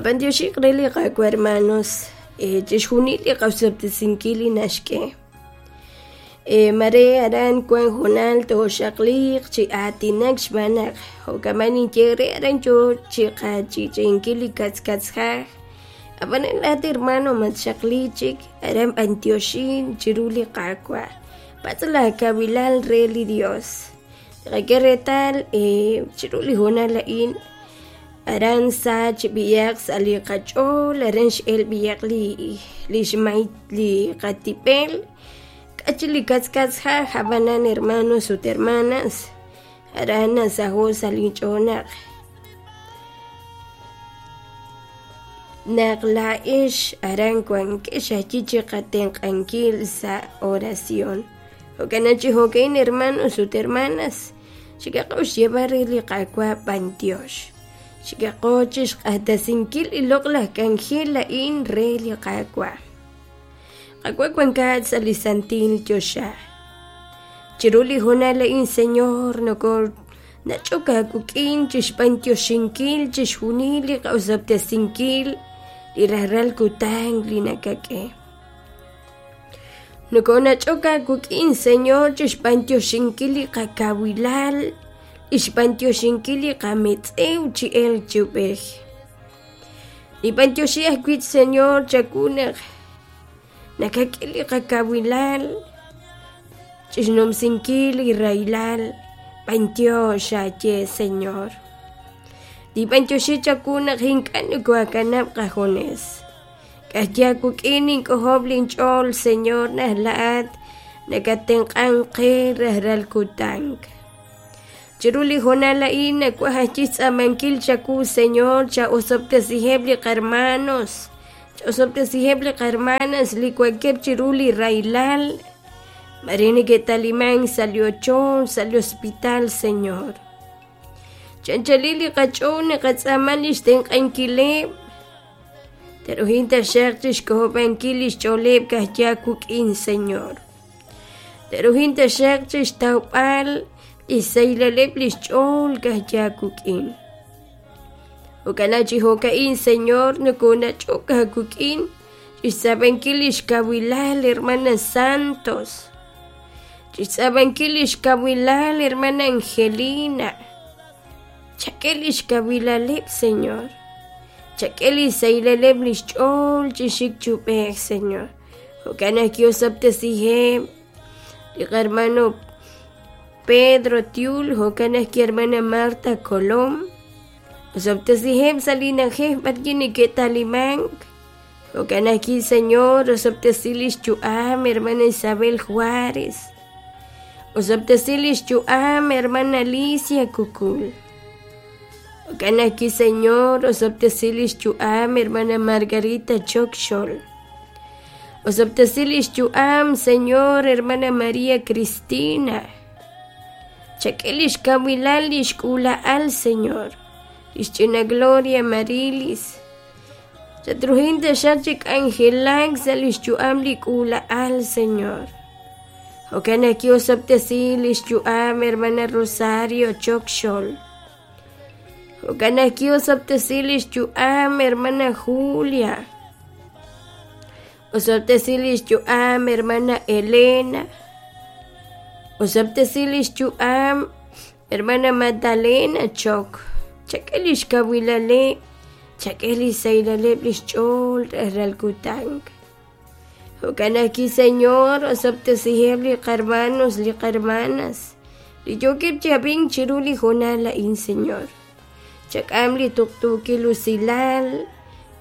Qab'antioxiq re li Qaawa' hermanos chixjunil li qaosob'tesinkil li naxk'e. Mare aran wan hoonal tooxaqliiq chi aatinak xb'aan naq jo'kaman ninye re aran yoo chi qach'i'ch'i'inkil li katzkatzjaj. Ab'anan laa'at hermano matxaqli chik aran b'antioxin chiru li Qaawa'. Patz' laakawilal re li Dios. Tqak'e reetal chiru li hoonal a'in aran sa chi b'iyaq sa' li qach'ool aran x'el b'iyaq li li xmay li qatib'el k'a chi li katzkatzjaj ab'anan hermanos ut hermanas aran nasaho' sa' linch'ool naq naq laa'ex aran wankex ajwi' chi qatenq'ankil sa' oración. Jo'kan chi jo'ka'in hermanos ut hermanas xikaqo xyeeb'al re li Qaawa' b'antiox. Xikaqo chi xq'axtesinkil li loq'laj k'anjel a'in re li Qaawa'. Qaawa' wankat sa' li santil choxa. Chiru li hoonal a'in, Señor, noko nach'ok aawik'in chi xb'antioxinkil chixjunil li qa'osob'tesinkil li rajlal kutan li nakak'e. Nokonach'ok aawik'in, Señor, chi xb'antioxinkil li qakawilal, li xb'antioxinkil li qametz'ew chi elk chi ub'ej. Nib'antioxi ajwi', Señor, chawu naq nakak'e li qakawilal chi xnumsinkil li rahilal b'antiox aaye, Señor. Nib'antioxi chawu naq ink'a' nokoakanab' qajunes. K'axya wik'in nink'ojob' linch'ool, Señor, naq laa'at nakatenq'ank qe rajlal kutan. Chiru li hoonal a'in nawaj ajwi' xtz'aamankil chawu, Señor, cha'osob'tesiheb' li qarmanos, cha'osob'tesiheb' li qarmanas li wankeb' chiru li rahilal, mare neke'talimank sa' li ochoch, sa' li hospital, Señor. Chanchalil li qach'ool naqatz'aama li xtenq'ankileb'. Teruhin taxaq chi xk'ojob'ankil li xch'ooleb' kajya wuk'in, Señor. Teruhin taxaq chi xtawb'al li xsaylaleb' li xch'ool kajya wuk'in. Jo'kan chi jo'ka'in, Señor, nokonach'ok aawik'in chi xtz'aab'ankil li xkawilal, hermana Santos, chi xtz'aab'ankil li xkawilal, hermana Angelina. Chak'e li xkawilaleb', Señor. Chak'e li xsaylaleb' li xch'ool chi xik chi ub'ej, Señor. Jo'kan naq ki'osob'tesiheb' li qarmano Pedro Tiul, jo'kan naq hermana Marta Colom. Osob'tesiheb' sa' li na'ajej b'arwi' neke'talimank. Jo'kan ajwi', Señor, osob'tesi li xyu'am hermana Isabel Juárez. Osob'tesi li xyu'am hermana Alicia Kukul. Jo'kan ajwi', Señor, osob'tesi li xyu'am hermana Margarita Chokxol. Osob'tesi li xyu'am, Señor, hermana María Cristina. Chak'e li xkawilal li xk'uula'al, Señor. Li xch'ina Gloria Marilis. Chatruhin taxaq chi k'anjelak sa' li xyu'am li k'uula'al, Señor. Jo'kan naq ki'osob'tesi li xyu'am hermana Rosario Chokxol. Jo'kan naq ki'osob'tesi li xyu'am hermana Julia. Osob'tesi li xyu'am hermana Elena. Osob'tesi li xyu'am hermana Magdalena Chok. Chak'e li xkawilaleb', chak'e li xsahilaleb' li xch'ool rajlal kutan. Jo'kan ajwi', Señor, osob'tesiheb' li qarmanos, li qarmanas, li yookeb' chi ab'ink chiru li hoonal a'in, Señor. Chak'am li tuqtuukil usilal,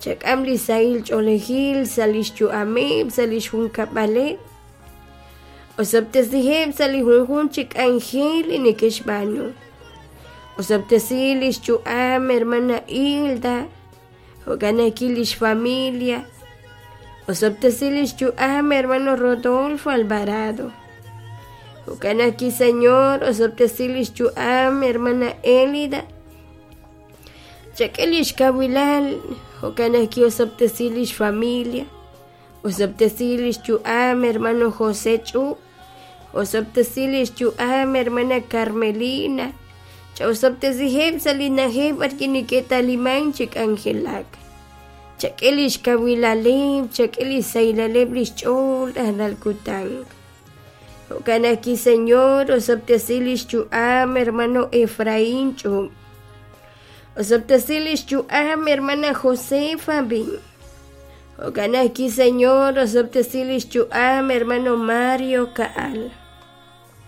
chak'am li sahil ch'oolejil sa' li xyu'ameb', sa' li xjunkab'aleb'. Osob'tesiheb' sa' li junjunq chi k'anjel li neke'xb'aanu. Osob'tesi li xyu'am hermana Hilda, jo'kan ajwi' li xfamilia. Osob'tesi li xyu'am hermano Rodolfo Alvarado. Jo'kan ajwi', Señor, osob'tesi li xyu'am hermana Elida. Chak'e li xkawilal, jo'kan ajwi' osob'tesi li xfamilia. Osob'tesi li xyu'am hermano José Ch'u. Osob'tesi li xyu'am hermana Carmelina. Cha'osob'tesiheb' sa' li na'ajej b'arwi' neke'talimank chi k'anjelak. Chak'e lix kawilaleb', chak'e lix sahilaleb' lix ch'ool rajlal kutan. Jo'kan ajwi', Señor, osob'tesi lix yu'am hermano Efraín Ch'ub'. Osob'tesi lix yu'am hermana Josefa Bin. Jo'kan ajwi', Señor, osob'tesi lix yu'am hermano Mario Ka'al.